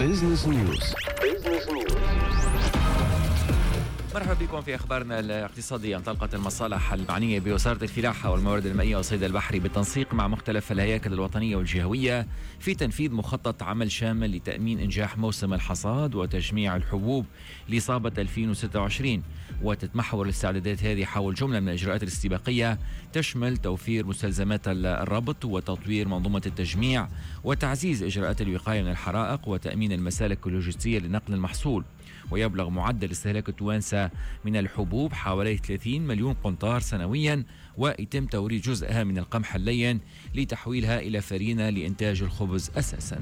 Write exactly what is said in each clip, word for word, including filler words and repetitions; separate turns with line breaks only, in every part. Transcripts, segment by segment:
Business News.
مرحبا بكم في أخبارنا الاقتصادية. انطلقت المصالح المعنية بوزارة الفلاحة والموارد المائية والصيد البحري بالتنسيق مع مختلف الهياكل الوطنية والجهوية في تنفيذ مخطط عمل شامل لتأمين إنجاح موسم الحصاد وتجميع الحبوب لصابة ألفين وستة وعشرين. وتتمحور الاستعدادات هذه حول جملة من الإجراءات الاستباقية تشمل توفير مستلزمات الربط وتطوير منظومة التجميع وتعزيز إجراءات الوقاية من الحرائق وتأمين المسالك اللوجستية لنقل المحصول. ويبلغ معدل استهلاك التوانسة من الحبوب حوالي ثلاثين مليون قنطار سنويا، ويتم توريد جزءها من القمح اللين لتحويلها إلى فرينة لإنتاج الخبز أساسا.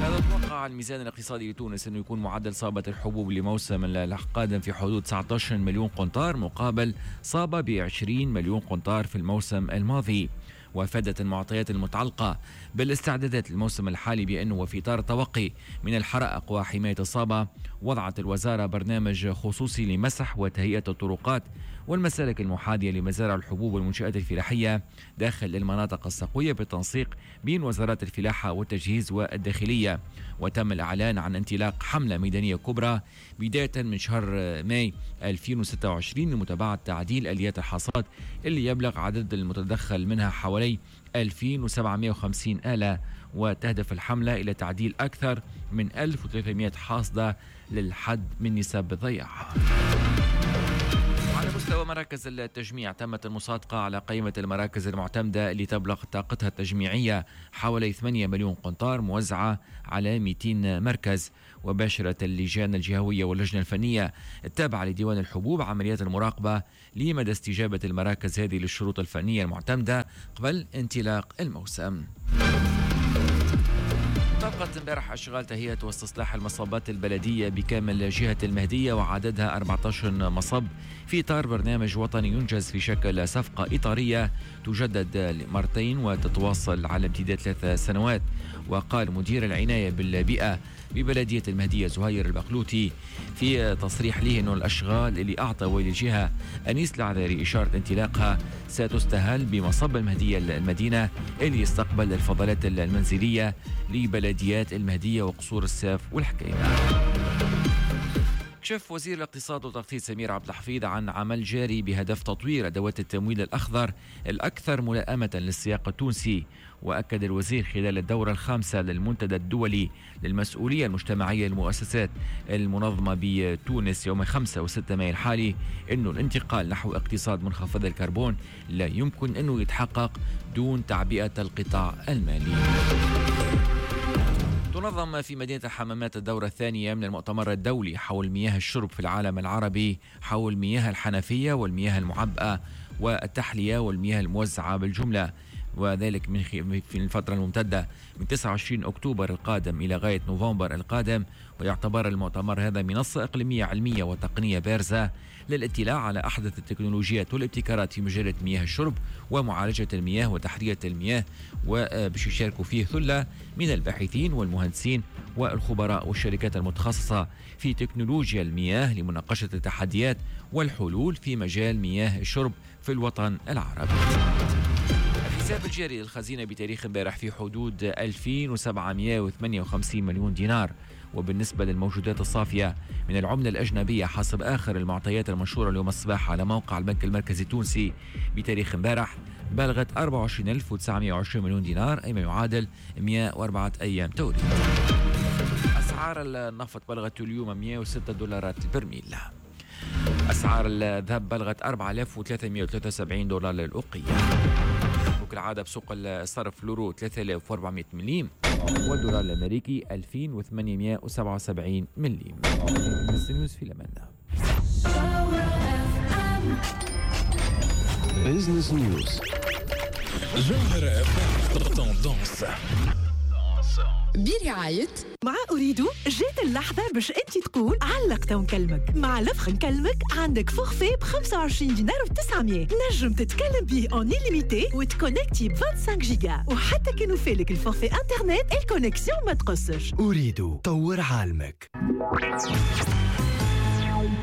هذا توقع الميزان الاقتصادي لتونس أنه يكون معدل صابة الحبوب لموسم القادم في حدود تسعة عشر مليون قنطار مقابل صابة ب عشرين مليون قنطار في الموسم الماضي. وافادت المعطيات المتعلقة بالاستعدادات للموسم الحالي بأنه وفي إطار التوقي من الحرائق وحماية الصابة وضعت الوزارة برنامج خصوصي لمسح وتهيئة الطرقات والمسالك المحاذية لمزارع الحبوب والمنشآت الفلاحية داخل المناطق السقوية بالتنسيق بين وزارات الفلاحة والتجهيز والداخلية. وتم الإعلان عن انطلاق حملة ميدانية كبرى بداية من شهر ماي ألفين وستة وعشرين لمتابعة تعديل آليات الحصاد اللي يبلغ عدد المتدخل منها حوالي ألفين وسبعمائة وخمسين آلة، وتهدف الحملة إلى تعديل أكثر من ألف وثلاثمائة حاصدة للحد من نسب الضياع. على مستوى مراكز التجميع تمت المصادقة على قائمة المراكز المعتمدة اللي تبلغ طاقتها التجميعية حوالي ثمانية مليون قنطار موزعة على مئتين مركز. وباشرت اللجان الجهوية واللجنة الفنية التابعة لديوان الحبوب عمليات المراقبة لمدى استجابة المراكز هذه للشروط الفنية المعتمدة قبل انطلاق الموسم. انطلقت امبارح أشغال تهيئة واستصلاح المصابات البلدية بكامل جهة المهدية وعددها أربعة عشر مصب في إطار برنامج وطني ينجز في شكل صفقة إطارية تجدد مرتين وتتواصل على امتداد ثلاث سنوات. وقال مدير العناية بالبيئة ببلدية المهدية زهير البقلوتي في تصريح له أنه الأشغال اللي أعطى والي الجهة أنيس العذاري إشارة انطلاقها ستستهل بمصب المهدية المدينة اللي يستقبل الفضلات المنزلية لبلديات المهدية وقصور الساف والحكاية. كشف وزير الاقتصاد والتخطيط سمير عبد الحفيظ عن عمل جاري بهدف تطوير أدوات التمويل الأخضر الأكثر ملائمة للسياق التونسي. وأكد الوزير خلال الدورة الخامسة للمنتدى الدولي للمسؤولية المجتمعية للمؤسسات المنظمة بتونس يوم خمسة وستة مايو الحالي أنه الانتقال نحو اقتصاد منخفض الكربون لا يمكن أنه يتحقق دون تعبئة القطاع المالي. تنظم في مدينة الحمامات الدورة الثانية من المؤتمر الدولي حول مياه الشرب في العالم العربي حول مياه الحنفية والمياه المعبأة والتحلية والمياه الموزعة بالجملة، وذلك من في الفترة الممتدة من تسعة وعشرين أكتوبر القادم إلى غاية نوفمبر القادم. ويعتبر المؤتمر هذا منصة إقليمية علمية وتقنية بارزة للاطلاع على أحدث التكنولوجيات والابتكارات في مجالات مياه الشرب ومعالجة المياه وتحلية المياه، وباش يشاركوا فيه ثلة من الباحثين والمهندسين والخبراء والشركات المتخصصة في تكنولوجيا المياه لمناقشة التحديات والحلول في مجال مياه الشرب في الوطن العربي. الحساب الجاري للخزينة بتاريخ امبارح في حدود ألفين وسبعمائة وثمانية وخمسين مليون دينار. وبالنسبة للموجودات الصافية من العملة الأجنبية حسب آخر المعطيات المنشورة اليوم الصباح على موقع البنك المركزي التونسي بتاريخ امبارح بلغت أربعة وعشرين ألف وتسعمائة وعشرين مليون دينار، أي ما يعادل مئة وأربعة أيام توريد. أسعار النفط بلغت اليوم مئة وستة دولارات البرميل. أسعار الذهب بلغت أربعة آلاف وثلاثمائة وثلاثة وسبعين دولار للأوقية. وكالعادة بسوق الصرف اليورو ثلاثة آلاف وأربعمائة مليم والدولار الأمريكي ألفين وثمانمائة وسبعة وسبعين مليم. نيوز في لمن
Business News
جوهرة tendance
برعاية
مع أريدو. جات اللحظة باش أنت تقول علقت ونكلمك. مع l'offre نكلمك عندك forfait ب خمسة وعشرين دينار وتسعمية نجم تتكلم به en illimité وتكونكتي ب خمسة وعشرين جيجا، وحتى كي نوفيلك ال forfait internet ال connexion ما تقصش.
أريدو طور عالمك.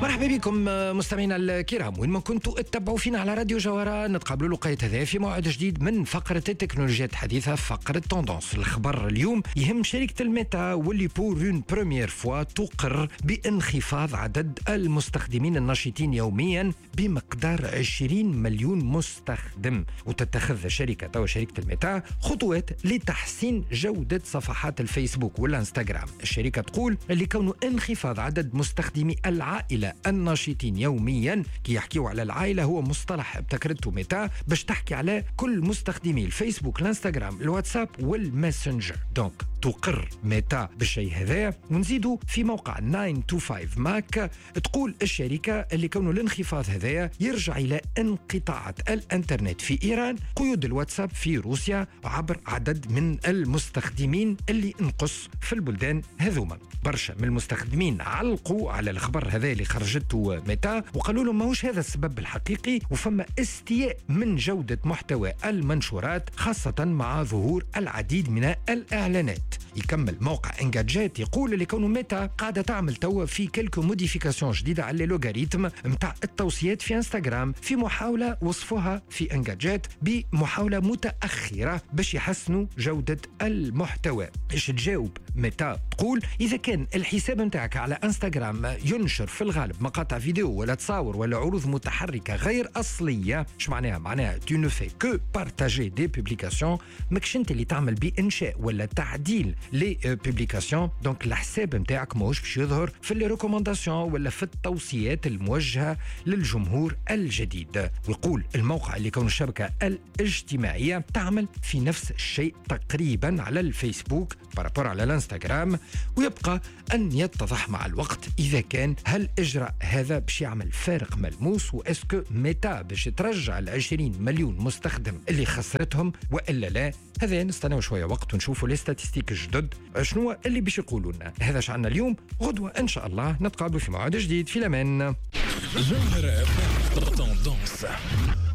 مرحبا بكم مستمعينا الكرام وين ما كنتوا اتبعوا فينا على راديو جوهرة. نتقابلوا لقيت هذا في موعد جديد من فقرة التكنولوجيات الحديثة، فقرة tendance. الخبر اليوم يهم شركة الميتا واللي pour une première fois تقر بانخفاض عدد المستخدمين النشيطين يوميا بمقدار عشرين مليون مستخدم، وتتخذ الشركة تو شركة الميتا خطوات لتحسين جودة صفحات الفيسبوك والانستغرام. الشركة تقول اللي كونه انخفاض عدد مستخدمي العائلة النشيطين يوميا، كي يحكيوا على العائلة هو مصطلح ابتكرته ميتا باش تحكي على كل مستخدمي الفيسبوك، الانستغرام، الواتساب والماسنجر. donc تقر ميتا بالشيء هذا. ونزيدوا في موقع تسعة خمسة ماك تقول الشركة اللي كونه الانخفاض هذا يرجع إلى انقطاعات الانترنت في إيران، قيود الواتساب في روسيا عبر عدد من المستخدمين اللي انقص في البلدان هذوما. برشا من المستخدمين علقوا على الخبر هذا اللي خرجته ميتا وقالوا لهم ماهوش هذا السبب الحقيقي، وفما استياء من جودة محتوى المنشورات خاصة مع ظهور العديد من الإعلانات. يكمل موقع Engadget يقول اللي كونه ميتا قاعدة تعمل توا في quelques modifications جديدة على l'algorithme نتاع التوصيات في انستغرام، في محاولة وصفوها في Engadget بمحاولة متأخرة باش يحسنوا جودة المحتوى. ايش تجاوب ميتا؟ تقول إذا كان الحساب نتاعك على انستغرام ينشر في الغالب مقاطع فيديو ولا تصاور ولا عروض متحركة غير أصلية، اش معناها؟ معناها tu ne fais que partager des publications، ماكش انت اللي تعمل بإنشاء ولا تعديل les publications، donc الحساب نتاعك ماهوش باش يظهر في les recommandations ولا في التوصيات الموجهة للجمهور الجديد. ويقول الموقع اللي كون الشبكة الاجتماعية تعمل في نفس الشيء تقريبا على الفيسبوك par rapport على الانستغرام، ويبقى أن يتضح مع الوقت إذا كان هل إجراء هذا باش يعمل فارق ملموس، و est-ce que ميتا باش ترجع العشرين مليون مستخدم اللي خسرتهم وإلا لا. هذا نستناو شوية وقت ونشوفوا les statistiques الجدد شنو اللي باش يقولوا لنا. هذا شعنا اليوم، غدوة إن شاء الله نتقابل في موعد جديد. في الأمان.
جوهرة tendance.